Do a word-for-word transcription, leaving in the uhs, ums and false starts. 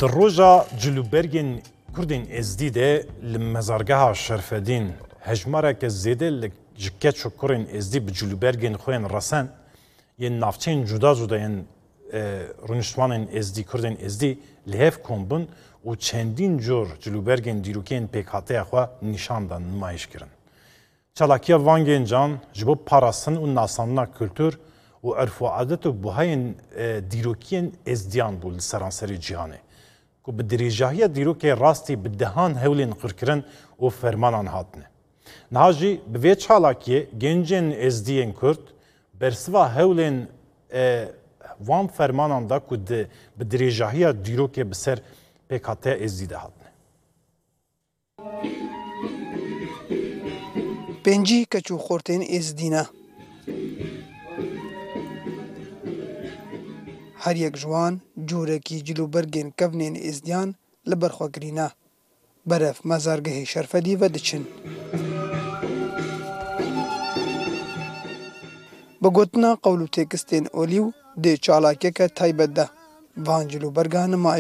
Di roja cilûbergên Kurdên Êzdî de li mezargeha Şerfedîn hejmareke zêde li, ji keç û kurên Êzdî bi cilûbergên xwe yên resen yên navçeyên cuda cuda yên, e, rûniştvanên Êzdî, Kurdên Êzdî li hev kom bûn û çendîn cor cilûbergên dîrokên pêkhateya xwe nîşan dan, nimayîş kirin. Çalakiya van gencan ji bo parastin û nasandina kultur û erf û adet û buhayên, e, dîrokiyên Êzdiyan bû li seranserê cîhanê, ku bi dirêjahiya dîrokê rastî bi dehan hewlên qirkirin û fermanan hatine. Niha jî bi vê çalakiyê gencên Êzdiyên Kurd bersiva hewlên, e, van fermanan da ku di, bi dirêjahiya dîrokê bi ser pêkhateya Êzdî de hatine. Pêncî keç û xortên Êzdî ne. Her yek ji wan cûrekî cilûbergên kevnên Êzdiyan li ber xwe girîne. Berev mezargehê Şerfedî ve diçin. Bi gotina qewl û têkistên olî û di çalakiyeke taybet de van cilûberga nimayîş